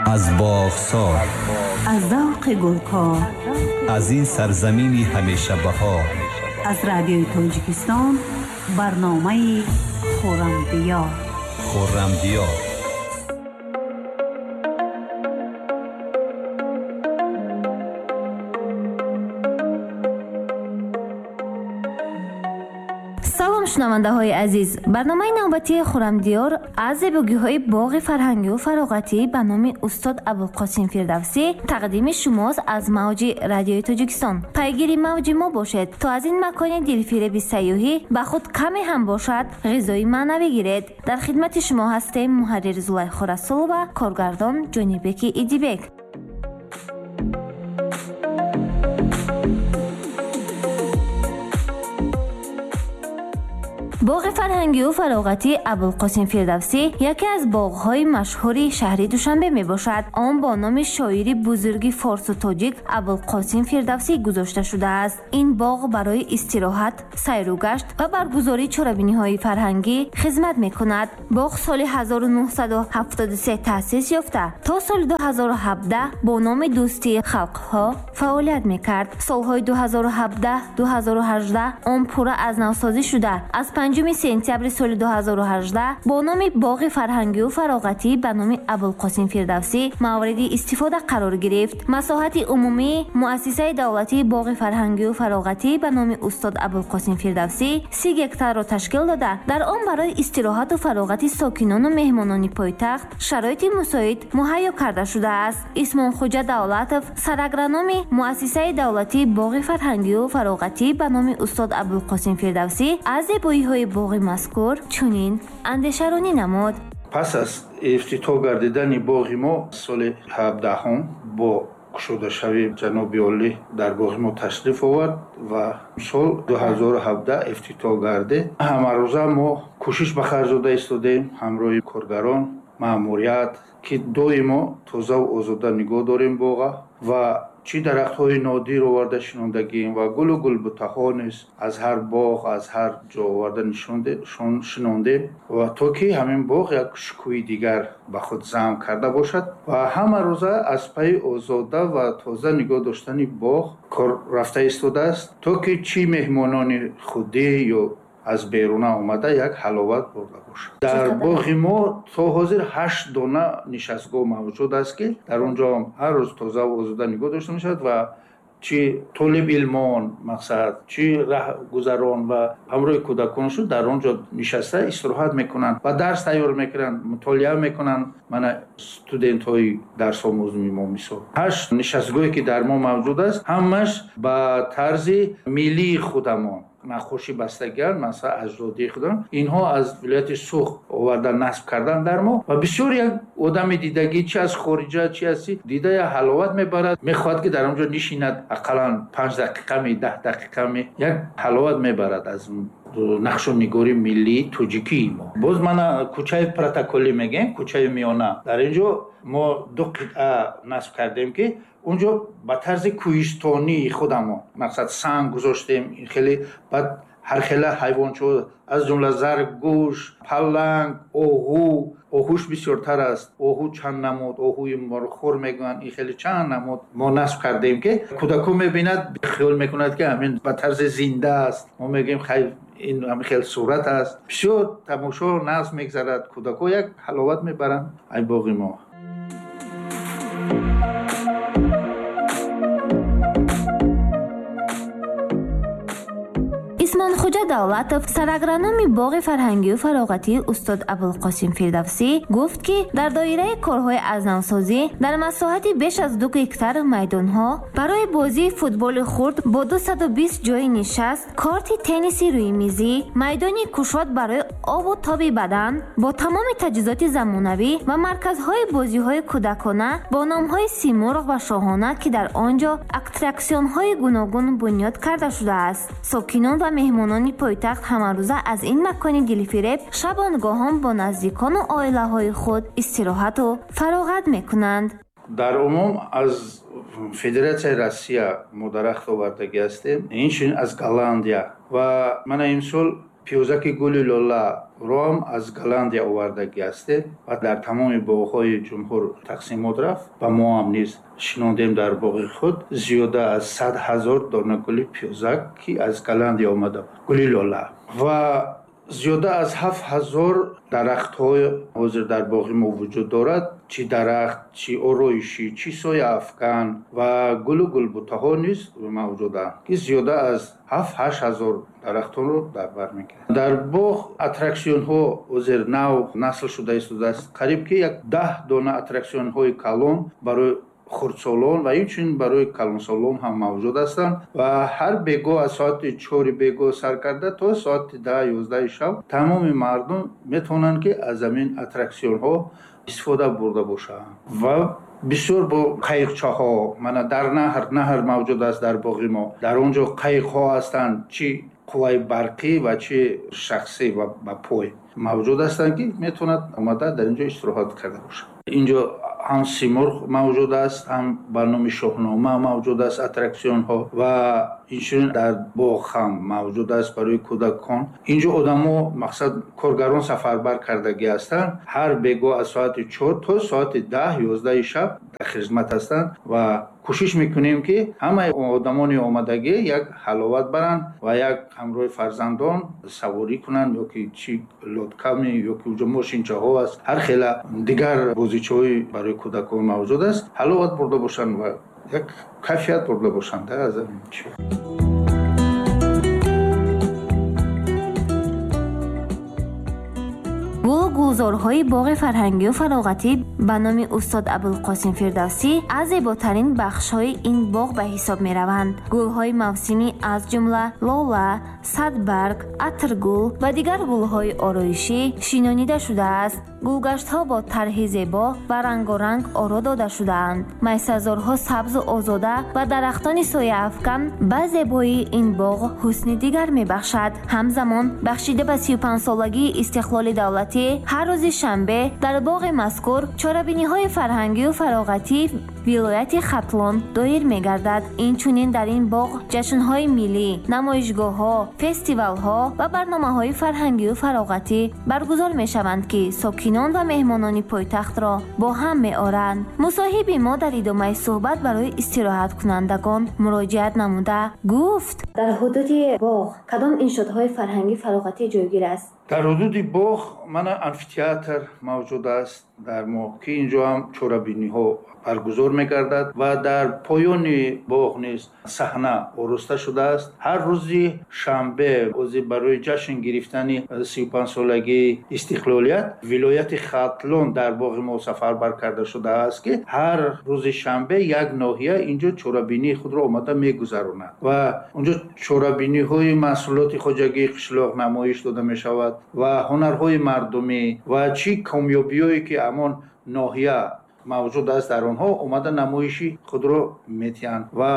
Аз боғсор, аз завқи гулкор, аз ин сарзамини ҳамешабаҳор, аз Радиои Тоҷикистон барномаи Хуррамдиёр. Хуррамдиёр. Салом, шунавандаҳои азиз! Барномаи навбатии Хуррамдиёр аз зебогиҳои боғи фарҳангию фароғатӣ ба номи устод Абулқосим Фирдавсӣ тақдими шумост аз мавҷи Радиои Тоҷикистон. Пайгири мавҷи мо бошед, то аз ин макони дилфиреби сайёҳӣ ба худ каме ҳам бошад ғизои маънавӣ гиред. Дар хидмати шумо ҳастем муҳаррир Зулайхо Расулова, коргардон Ҷонибеки Идибек. Боғи фарҳангию фароғатии Абулқосим Фирдавсӣ яке аз боғҳои машҳури шаҳри Душанбе мебошад. Он бо номи шоири бузурги форсу тоҷик Абулқосим Фирдавсӣ гузошта шудааст. Ин боғ барои истироҳат, сайру гашт ва баргузории чорабиниҳои фарҳангӣ хизмат мекунад. Боғ соли 1973 таъсис ёфта, то соли 2017 бо номи Дӯстии халқҳо фаъолият мекард. Солҳои 2017-2018 он пурра аз навсозӣ шуда, аз 5 сентябри соли 2018 бо номи боғи фарҳангию фароғатӣ ба номи Абулқосим Фирдавсӣ мавриди истифода қарор гирифт. Масоҳати умумии муассисаи давлатии боғи фарҳангию фароғатӣ ба номи устод Абулқосим Фирдавсӣ 30 гектарро ташкил дода, дар он барои истироҳату фароғати сокинону меҳмонони пойтахт шароити мусоид муҳайё карда шудааст. Исмонхуҷа Давлатов, сарагрономи муассисаи давлатии боғи фарҳангию фароғатӣ ба номи устод Абулқосим Фирдавсӣ, аз зебоиҳои боғи мазкур чунин андешаронӣ намуд. Пас аз ифтитоҳ гардидани боғи мо соли 17 бо кушодашавии ҷаноби олӣ дар боғи мо ташриф овард ва сол 2017 ифтитоҳ гардид. Ҳамарӯза мо кӯшиш ба харҷ дода истодаем ҳамроҳи коргарон, маъмурият, ки доимо тозаву озода нигоҳ дорем боға ва чӣ дарахтҳои нодир оварда шинондагием ва гулу гулбутаҳо низ аз ҳар боғ, аз ҳар ҷо оварда шинондем ва то ки ҳамин боғ як шукӯҳи дигар ба худ замм карда бошад ва ҳама рӯза аз пайи озода ва тоза нигоҳ доштани боғ кор рафта истодааст, то ки чӣ меҳмонони худӣ ё аз беруна омада як ҳаловат бурда бошад. Дар боғи мо то ҳозир 8 дона нишастгоҳ мавҷуд аст, ки дар он ҷо ҳар рӯз тозаву озода нигоҳ дошта мешавад ва чӣ толибилмон мақсад, чӣ раҳгузарон ва ҳамроҳи кӯдаконшон дар он ҷо нишаста истироҳат мекунанд ва дарс тайёр мекунанд, мутолиа мекунанд. Мана студентҳои дарсомӯзми мо мисол. 8 нишастгоҳе ки дар мо мавҷуд аст, ҳамаш ба тарзи миллии худамон наққошӣ бастагианд, масалан аҷдодии худам. Инҳо аз вилояти Суғд оварда насб кардан дар мо ва бисёр як одами дидагӣ, чи аз хориҷа, чи аз чи дида, як ҳаловат мебарад, мехоҳад ки дар он ҷо нишинад ақаллан 5 дақиқа ми, 10 дақиқа ми, як ҳаловат мебарад аз нақшу нигори миллии тоҷикии мо. Боз мана кӯчаи протоколӣ мегӯем, кӯчаи миёна. Дар ин ҷо мо 2 қитъа насб кардем, ки он ҷо ба тарзи кӯҳистонии худамон мақсад санг гузоштем, хеле баъд ҳар хела ҳайвончо, аз ҷумла заргӯш, паланг, оҳу. Оҳуш бисёртар аст. Оҳу чанд намуд, оҳуи морхӯр мегӯянд, ин хеле чанд намуд мо насб кардем, ки кӯдако мебинад, хиёл мекунад, ки ҳамин ба тарзи зинда аст. Мо мегӯем, хай, ин ҳамин хел сурат аст. Бисёр тамошо насб мегзарад, кӯдако як ҳаловат мебаранд ай боғи мо. Исмонхуҷа Давлатов, сарагрономи боғи фарҳангию фароғатии устод Абулқосим Фирдавсӣ, гуфт, ки дар доираи корҳои аз навсозӣ дар масоҳати беш аз 2 гектар майдонҳо барои бозии футболи хурд бо 220 ҷойи нишаст, корти тенниси рӯимизӣ, майдони кушод барои обу тоби бадан бо тамоми таҷҳизоти замонавӣ ва марказҳои бозиҳои кӯдакона бо номҳои Симурғ ва Шоҳона, ки дар он ҷо аттраксионҳои гуногун бунёд карда шудааст. Сокинон ва меҳмонони пойтахт ҳамарӯза аз ин макони дилфиреб шабонгоҳон бо наздикону оилаҳои худ истироҳату фароғат мекунанд. Дар умум аз Федератсияи Россия мо дарахт овардагӣ ҳастем, инчунин аз Голландия ва мана имсол Пиёзаки гули лола ром аз Голландия овардагӣ ҳастем ва дар тамоми боғҳои ҷумҳур тақсимот рафт ва мо ҳам низ шинондем дар боғи худ зиёда аз 100 000 дона гули пиёзак, ки аз Голландия омада буд, гули лола. Ва зиёда аз 7000 дарахтҳои ҳозир дар боғи мо вуҷуд дорад, чӣ дарахт, чӣ ороишӣ, чӣ сояафкан ва гулу гулбутаҳо низ мавҷуданд, ки зиёда аз 7-8 ҳазор дарахтонро дар бар мегирад. Дар боғ аттраксионҳо ҳозир нав насл шуда истодааст. Қариб ки як 10 дона аттраксионҳои калон барои хурдсолон ва инчунин барои калонсолон ҳам мавҷуд ҳастанд ва ҳар бегоҳ аз соати 4 бегоҳ сар карда то соати 10-11 шаб тамоми мардум метавонанд, ки аз ҳамин аттраксионҳо истифода бурда бошанд. Ва бисёр бо қайиқчаҳо, мана дар наҳр мавҷуд аст дар боғи мо, дар он ҷо қайиқҳо ҳастанд, чӣ қувваи барқӣ ва чӣ шахсӣ ва ба пой мавҷуд ҳастанд, ки метавонад омада дар ин ҷо истироҳат карда бошад. Инҷо ҳам Симурғ мавҷуд аст, ҳам ба номи Шоҳнома мавҷуд аст аттраксионҳо ва инчунин дар боғ ҳам мавҷуд аст барои кӯдакон. Инҷо одамо, мақсад, коргарон сафарбар кардагӣ ҳастанд. Ҳар бегоҳ аз соати 4 то соати 10-11 шаб дар хизмат ҳастанд ва кӯшиш мекунем, ки ҳамаи одамони омадагӣ як ҳаловат баранд ва як ҳамроҳи фарзандон саворӣ кунанд, ё ки чӣ лодками, ё ки уҷо мошинчаҳо аст, ҳар хела дигар бозичаҳои барои кӯдакон мавҷуд аст, ҳаловат бурда бошанд ва як кайфият бурда бошанд аз ҳамин чиз. Гулу гулзорҳои боғи фарҳангию фароғатӣ ба номи устод Абулқосим Фирдавсӣ аз зеботарин бахшҳои ин боғ ба ҳисоб мераванд. Гулҳои мавсимӣ аз ҷумла лола, садбарг, атргул ва дигар гулҳои ороишӣ шинонида шудааст. Гулгаштҳо бо тарҳи зебо ва рангоранг оро дода шудаанд. Майсазорҳо сабзу озода ва дарахтони сояафкан ба зебоии ин боғ ҳусни дигар мебахшад. Ҳамзамон бахшида ба 35-солагии истиқлоли давлатӣ ҳар рӯзи шанбе дар боғи мазкур чорабиниҳои фарҳангию фароғатии вилояти Хатлон доир мегардад. Инчунин дар ин боғ ҷашнҳои миллӣ, намоишгоҳҳо, фестивалҳо ва барномаҳои фарҳангию фароғатӣ баргузор мешаванд, ки сокинон ва меҳмонони пойтахтро бо ҳам меоранд. Мусоҳиби мо дар идомаи суҳбат барои истироҳаткунандагон муроҷиат намуда гуфт: дар ҳудуди боғ кадом иншоотҳои фарҳангӣ фароғатӣ ҷойгир аст? Дар ҳудуди боғ мана амфитеатр мавҷуд аст дар мо, ки инҷо ҳам чорабиниҳо баргузор мегардад ва дар поёни боғ низ саҳна ороста шудааст. Ҳар рӯзи шанбе ози барои ҷашн гирифтани 35-солагии истиқлолият вилояти Хатлон дар боғи мо сафарбар карда шудааст, ки ҳар рӯзи шанбе як ноҳия инҷо чорабинии худро омада мегузаронад ва онҷо чорабиниҳои маҳсулоти хоҷагии қишлоқ намоиш дода мешавад ва ҳунарҳои мардумӣ ва чӣ комёбиҳое ки ҳамон ноҳия мавҷуд аст дар онҳо омада намоиши худро метиҳанд ва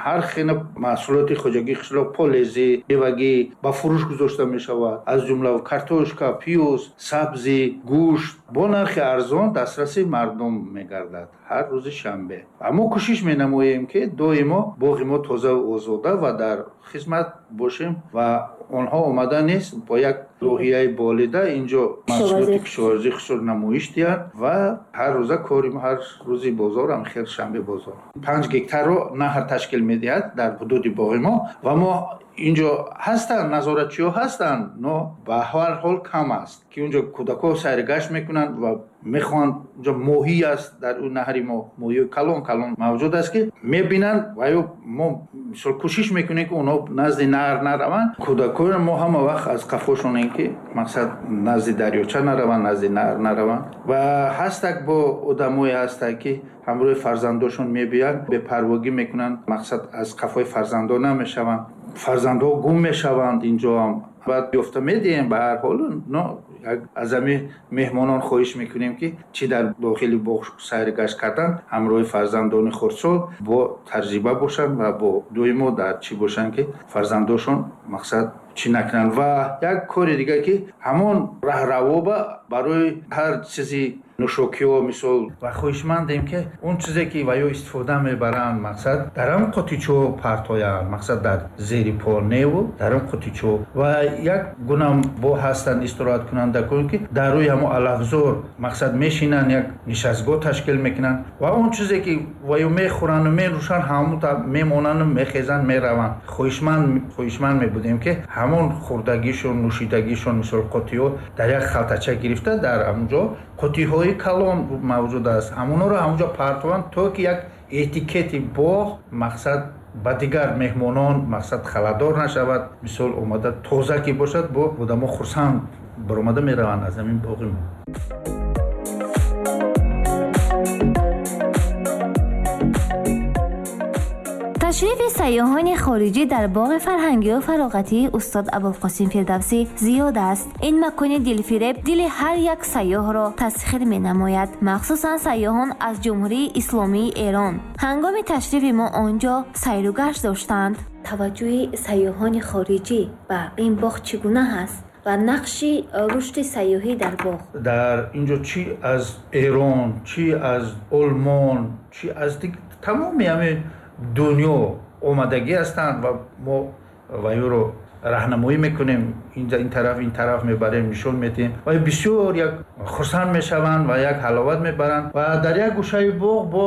ҳар хела маҳсулоти хоҷагии қишлоқ, полезӣ, мевагӣ ба фурӯш гузошта мешавад, аз ҷумла картошка, пиёз, сабзӣ, гӯшт бо нархи арзон дастраси мардум мегардад ҳар рӯзи шанбе. Ва мо кӯшиш менамоем, ки доимо боғи мо тозаву озода ва дар хизмат бошем ва онҳо омада низ бо як рӯҳияи болида инҷо маҳсулоти кишоварзии худро намоиш диҳанд ва ҳар рӯза кори ҳар рӯзи бозор ҳам хел шанбе бозор 5 гектарро наҳр ташкил медиҳад дар ҳудуди боғи мо ва мо инҷо ҳастанд, назоратчиҳо ҳастанд, но ба ҳар ҳол кам аст, ки унҷо кӯдакҳо сайргашт мекунанд ва мехоҳанд. Унҷо моҳӣ аст дар он наҳри мо, моҳиҳои калон калон мавҷуд аст, ки мебинанд ва ё мо мисол кӯшиш мекунем, ки онҳо назди наҳр нараванд. Кӯдакҳоро мо ҳама вақт аз қафошонем, ки мақсад назди дарёча нараванд, назди наҳр нараванд. Ва ҳастак бо одамое ҳастак, ки ҳамроҳи фарзандошон мебиёянд, бепарвогӣ мекунанд, мақсад аз қафои фарзандон намешаванд, фарзандҳо гум мешаванд инҷо ҳам. Баъд ёфта медиҳем ба ҳар ҳол, но аз ҳамин меҳмонон хоҳиш мекунем, ки чӣ дар дохили боғ сайргашт кардан ҳамроҳи фарзандони хурдсол бо таҷриба бошанд ва бо доимо дар чӣ бошанд, ки фарзандошон мақсад чӣ накунанд. Ва як кори дига, ки ҳамон раҳравоба барои ҳар чизи Нӯшокиҳо мисол, ва хоҳишмандем, ки он чизе ки ва ё истифода мебаранд, мақсад, дар ҳам қутичо партоянд, мақсад, дар зери по неву дар ҳам қутичо. Ва як гуна бо ҳастанд истироҳаткунандагон, ки дар рӯи ҳамон алафзор, мақсад, мешинанд, як нишастгоҳ ташкил мекунанд ва он чизе ки ва ё мехӯранду менӯшанд, ҳамон мемонанду мехезанд, мераванд. Хоҳишманд мебудем, ки ҳамон хӯрдагишон, нӯшидагишон, мисол, қутиҳо дар як халтача гирифта, дар ҳамонҷо қутиҳои калон мавҷуд аст, ҳамонҳоро ҳамонҷо партованд, то ки як этикети боғ, мақсад, ба дигар меҳмонон, мақсад, халадор нашавад. Мисол, омада тоза ки бошад, бо одамо хурсанд баромада мераванд аз ҳамин боғи мо. Ташрифи сайёҳони хориҷӣ дар боғи фарҳангию фароғатии устод Абулқосим Фирдавсӣ зиёд аст. Ин макони дилфиреб дили ҳар як сайёҳро тасхир менамояд, махсусан сайёҳон аз Ҷумҳурии Исломии Эрон. Ҳангоми ташрифи мо он ҷо сайру гашт доштанд. Таваҷҷӯҳи сайёҳони хориҷӣ ба ин боғ чӣ гуна ҳаст ва нақши рушди сайёҳӣ дар боғ? Дар ин ҷо чӣ аз Эрон, чӣ аз Олмон, чӣ аз тамоми ҳамин дунё омадагӣ ҳастанд ва мо ваюро раҳнамоӣ мекунем, ин тараф, ин тараф мебарем, нишон медиҳем ва бисёр як хурсанд мешаванд ва як ҳаловат мебаранд. Ва дар як гӯшаи боғ бо